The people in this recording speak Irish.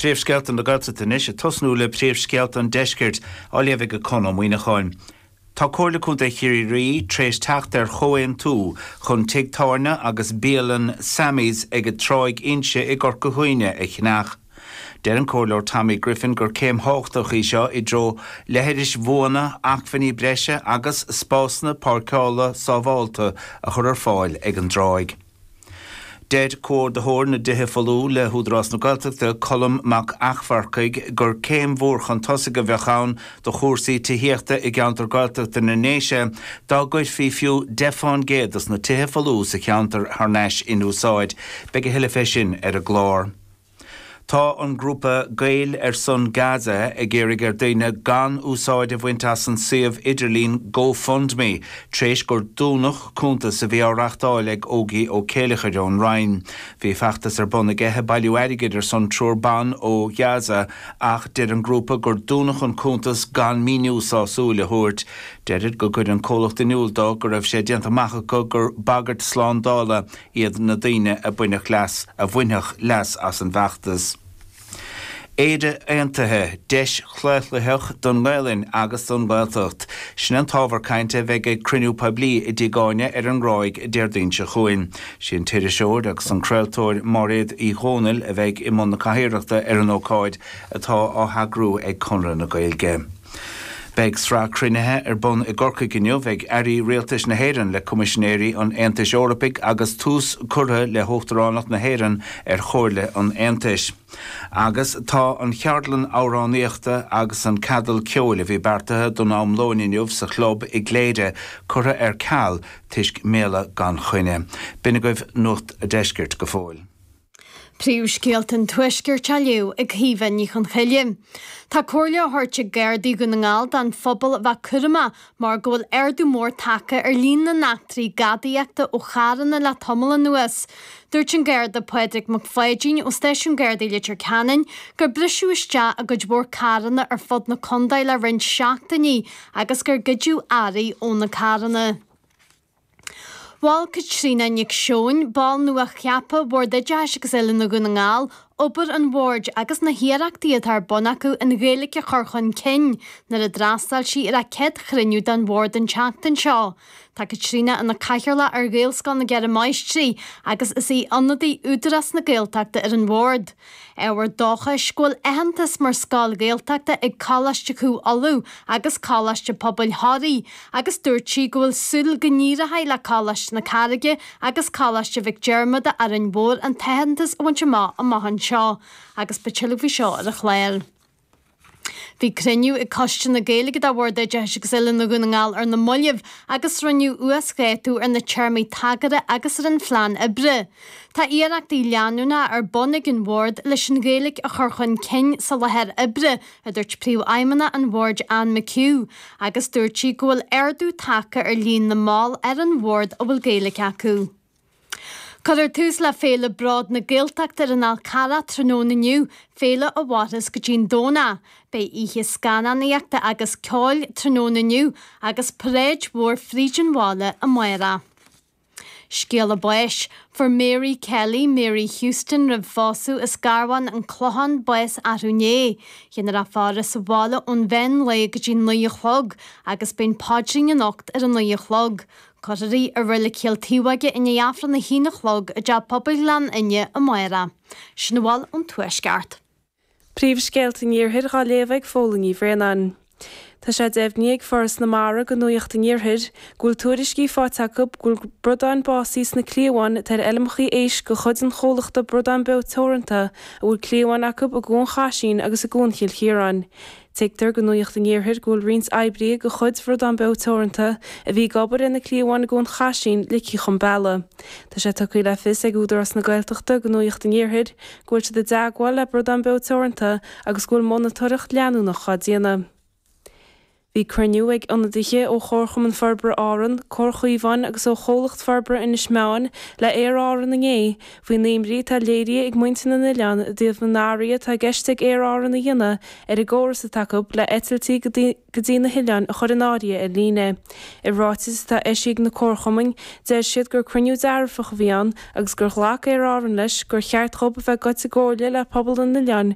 Príomhscéalta na Gaeltachta anois, ag tosnú le príomhscéalta an deiscirt, á léamh ag Conn Ó Muíneacháin. Tá Comhairle Contae Chiarraí tar éis teacht ar chomhaontú chun tigh tábhairne agus bialann Sammy's ag Tráigh Inse i gCorca Dhuibhne a cheannach. Deir an Comhairleoir Tommy Griffin gur céim thábhachtach í seo i dtreo leithris bhuana, acmhainní breise agus spásanna páirceála sábhálta a chur ar fáil ag an dtráigh. Deir Comhordaitheoir na dTithe Folmha le hÚdarás na Gaeltachta, Colm Mac Eachmharcaigh, gur céim mhór chun tosaigh a bheadh ann do chúrsaí tithíochta i gceantar Gaeltachta na nDéise dá gcuirfí fiú 10 fán gcéad dos na tithe folmha sa cheantar thar n-ais in úsáid. Beidh a thuilleadh fé sin ar an gclár. Tá an grúpa Gaeil ar son Gaza ag iarraidh ar daoine gan úsáid a bhaint as an suíomh idirlín GoFundMe tar éis gur dúnadh cuntas a bhí á reachtáil ag Ógie Ó Céileachair ón Rinn. Bhí feachtas ar bun aige ag bailiú airgid ar son triúr ban ó Ghaza ach deir an grúpa gur dúnadh an cuntas gan míniú sásúil a thabhairt. Deirid go gcuir an comhlacht in iúl dó go raibh sé déanta amach acu gur bagairt slándála iad na daoine a bhainfeadh leas a bhainfeadh leas as an bhfeachtas. Éire Aontaithe, deis chlaochlaitheach don nGaelainn agus don nGaeltacht. Sin an t-ábhar cainte a bheidh ag cruinniú poiblí i dTigh Áine ar an nGráig Déardaoin seo chugainn. Sí an t-iriseoir agus an craoltóir Máiréad Uí Dhomhnaill a bheidh i mbun na cathaoireachta ar an ócáid atá á heagrú ag Conradh na Gaeilge. Beidh sraith cruinnithe ar bun i gCorcaigh inniu ag airí rialtais na hÉireann le Coimisinéirí an Aontais Eorpaigh agus tús curtha le huachtaránacht na hÉireann ar Chomhairle an Aontais. Agus tá an cheardlann amhránaíochta agus an ceadal ceoil a bhí beartaithe don am lóin inniu sa chlub i gCléire curtha ar ceal toisc méala gan choinne. B'in agaibh Nuacht a' Deiscirt go fóill. Príomhscéalta an Tuaiscirt á léamh ag Caoimhe Ní Chonchoille. Tá comhairle á thabhairt ag Gardaí Dhún na nGall don phobal a bheith cúramach mar go bhfuil ardú mór tagtha ar líon na n-eachtraí gadaíochta ó charranna le tamall anuas. Dúirt an Garda Pádraig Mac Pháidín ó Stáisiún Gardaí Leitir Ceanainn gur briseadh isteach i gcuid mhór carranna ar fud na contae le roinnt seachtainí agus gur goideadh earraí ó na carranna. Mhol Caitríona Nic Seoin, ball nua-cheaptha Bhord Oideachais agus Oiliúna Dhún na nGall, obair an Bhoird agus na hiarrachtaí atá ar bun acu an Ghaeilge a chur chun cinn nuair a d'fhreastail sí ar a céad chruinniú den Bhord an tseachtain seo. Tá Caitríona ina cathaoirleach ar Ghaelscoil na gCeithre Máistrí agus is í ionadaí Údarás na Gaeltachta ar an Bhord. Ábhar dóchais go bhfuil aitheantas mar scoil Ghaeltachta ag Coláiste Chú Uladh agus Coláiste Pobail Thoraí agus dúirt sí go bhfuil súil go n-éireoidh le Coláiste na Carraige agus Coláiste Mhic Diarmada Árainn Mhór an t-aitheantas a bhaint amach amach anseo agus beidh tuilleadh faoi seo ar an chlár. Bhí cruinniú ag Coiste na Gaeilge de Bhord Oideachais agus Oiliúna Dhún na nGall ar na mallaibh agus rinneadh uasdhátú ar na téarmaí tagartha agus ar an phlean oibre. Tá iarrachtaí leanúnacha ar bun ag an Bhord leis an Ghaeilge a chur chun cinn sa láthair oibre, a dúirt Príomhfheidhmeannach an Bhoird Anne McHugh, agus dúirt sí go bhfuil ardú tagtha ar líon na mball ar an Bhord a bhfuil Gaeilge acu. Cuirfear tús le Féile Bród na Gaeltachta ar an Fhál Carrach tráthnóna inniu, féile a mhairfeas go dtí'n Domhnach. Beidh oíche scannánaíochta agus ceoil tráthnóna inniu agus paráid mhór fríd an bhaile amárach. Scéala báis. Fuair Mary Kelly, Mary Houston roimh phósadh as Garbhán an Clochán bás arú inné. Dhéanfar a faire sa bhaile ón mheán lae go dtí 9 a chlog agus beidh an paidrín anocht ar a 9 a chlog. Cuirfear í i Reilig Chill Taobhóige i ndiaidh Aifreann a haon a chlog i dTeach Pobail Ghleann Fhinne amárach. Sin a bhfuil ón Tuaisceart. Príomhscéalta an Iarthair dhá léamh ag Fódhla Ní Bhraonáin. Tá sé deimhnithe ag Foras na Mara do Nuacht an Iarthair go bhfuil tuairiscí faighte acu go bhfuil bradáin básaithe sna cliabháin atá ar fheilmeacha éisc de chuid an chomhlachta Bradán Beo Teoranta a bhfuil cliabháin acu i gCuan Chaisín agus i gCuan Chill Chiaráin. Tuigtear do Nuacht an Iarthair go bhfuil roinnt oibrithe de chuid Bhradán Beo Teoranta a bhí ag obair ar na cliabháin i gCuan Chaisín ligthe chun bealaigh. Tá sé tugtha le fios ag Údarás na Gaeltachta do Nuacht an Iarthair go bhfuil siad i dteagmháil le Bradán Beo Teoranta agus go bhfuil monatóireacht leanúnach á déanamh. Bhí cruinniú ag ionadaithe ó Chomharchumann Forbartha Árann, Comhar Chaomháin agus ó Chomhlacht Forbartha Inis Meáin le Aer Árann inné faoin imní atá léirithe ag muintir na n-oileán i dtaobh na n-athruithe atá i gceist ag Aer Árann a dhéanamh ar an gcóras atá acu le eitiltí go dtí na hoileáin a chur in áirithe ar líne. I ráiteas atá eisithe ag na comharchumainn, deir siad gur cruinniú dearfach a bhí ann agus gur ghlac Aer Árann leis gur cheart dhób a bheith ag goil i gcomhairle le pobal na n-oileán.